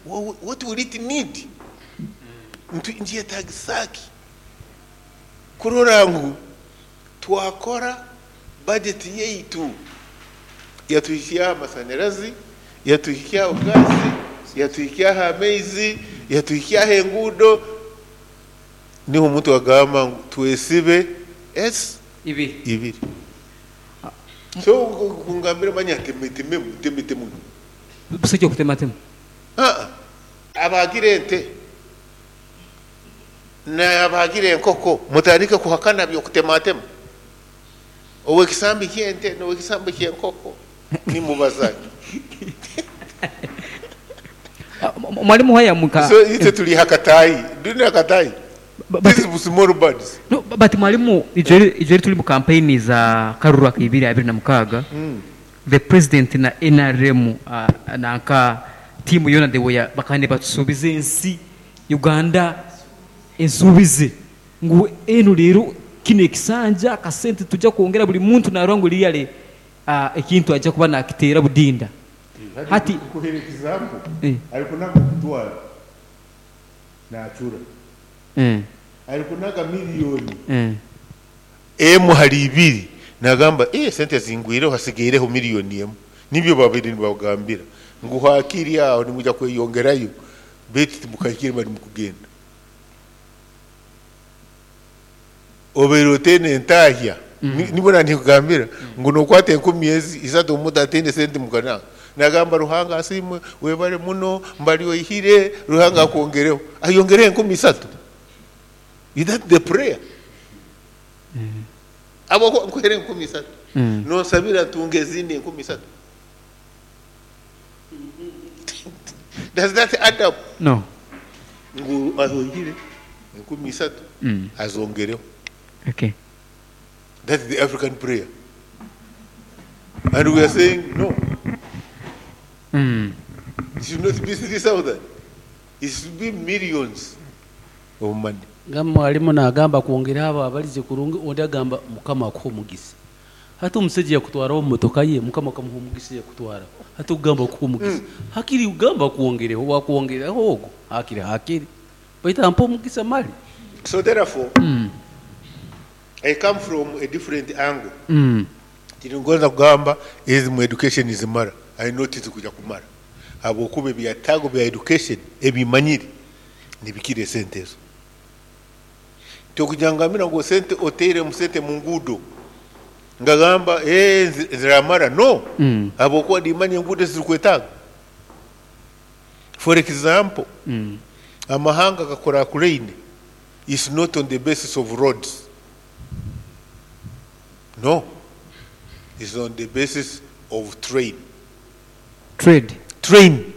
What will it need? Nkyetagisa ki kurora ngu twakora budget yaitu yatuhikyaho amasanyarazi, yatuhikyaho gaasi, yatuhikyaho amaizi, yatuhikyaho enguudo? Niho omuntu agamba ngu twesibe s ibiri. Ibiri. So kungambira manya temetememu, temetemu. Busajja okutematema. Ah, abagira ente n'abagira enkoko mutandike kuhakana by'okutematema. Owekisambi ky'ente n'owekisambi ky'enkoko nimubazaki? Mwalimu wayamuka. So itwe tuli hakatayi, do hakatayi. But, These small birds. No, but mwalimu, ijweri tuli mu campaign za karuru aka 2026. The president na NRM nanka tiimu yona, they were bakane batusuubiza ensi Uganda ensuubize ngu eno leero kino ekisanja akasente tujja kwongera buli muntu narora ngu liyale ekintu ajja kuba nakiteera budinda hati. Kuhera example, alikunaga okutwara nachura, alikunaga miliyoni emu hali ibiri, nagamba, "Eh, sente zingwireho, hasigaireho miliyoni 1." Nibyo babiri nibagambira ngu hakiri aho nimuja kweyongerayo, baitu timukahikire bali mukugenda obeire oteine entahya. Nibona nikugambira ngu nokwata 3,000 omuntu ataine sente mukana nagamba, "Ruhanga asiimwe, webale muno, mbali oihire, Ruhanga akwongereho," ayongereho 3,000. Is that the prayer? Abo nkuhere 3,000, nonsabira ntunge ezindi 3,000. Does that add up? No. Ngu ahoihire 3,000, azongereho. That's the African prayer, and we are saying no. It should not be 3000, it should be millions of money. Nga mwalimu nagamba kwongera abo abalize kurungi, ondi agamba, "Mukama akuha omugisa." Hati omusajja yakutwaraho mumotoka ye, Mukama akamuha omugisa, yakutwara. Hati okugamba kuha omugisa, hakiri ugamba kwongereho, wakwongereho ogwo hakiri baitu ampa omugisa mali. So therefore, I come from a different angle. Tiringonza kugamba ezi mu education zimara. I know tizikuja kumara, habwokuba ebyetaago bya education ebimanyire nibikira esente ezo. Tokujangambira ngu sente oteire mu sente mu nguudo, ngagamba, "Eh, ziramara." No, habwokuba nimanya enguudo ezirikwetaaga. For example, amahanga gakuraakuraine is not on the basis of roads, no, is on the basis of train. Trade. Train.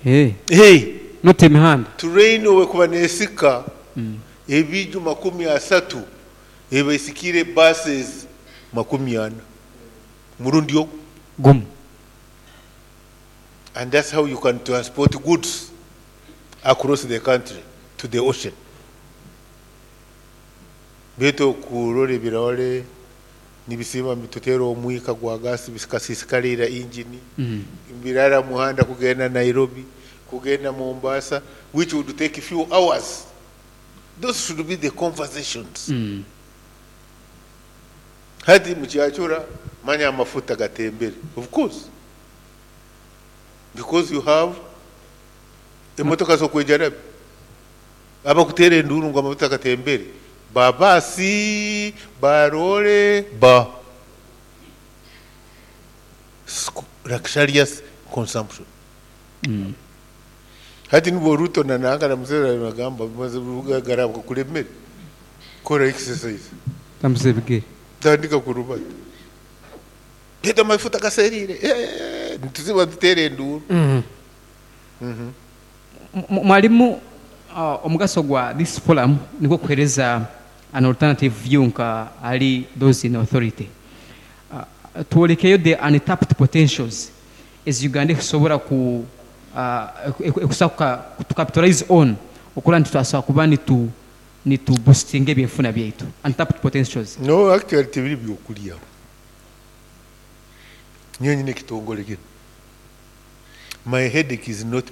Hey. Hey. Not emihanda. Train owekuba nesika ebiju 30, eba esikire buses 40 murundi ogwo. Gumu. And that's how you can transport goods across the country to the ocean. Baitu okurora ebirore nibisiba bitutera omwika gwa gasi bikasisikalira engine, birara muhanda kugenda Nairobi, kugenda Mombasa, which would take a few hours. Those should be the conversations. Hati mukyachura manya amafuta gatembere, of course, because you have emotoka zokwejarabi. Abakutera enduru ngu amafuta gatembere babasi barole ba luxurious consumption. Hati nibwo Ruto na Nanga na Museveni bagamba garabwa kulemere kora exercise. Tambuza ebigere. Tandika kurubata leta amafuta gaserire. Eh, nituziba tutere enduru. Mwalimu, omugaso gwa this forum nigwo kuhereza an alternative view nka ali those in authority, twolekeyo the untapped potentials ez Uganda ekusobora ku ekusobola to capitalize on okurora nti twasobola kuba nitu boostinga ebyenfuna byaitu, untapped potentials. No, actually tebiri byokulya. Niyo nyine ekitongole kino. My headache is not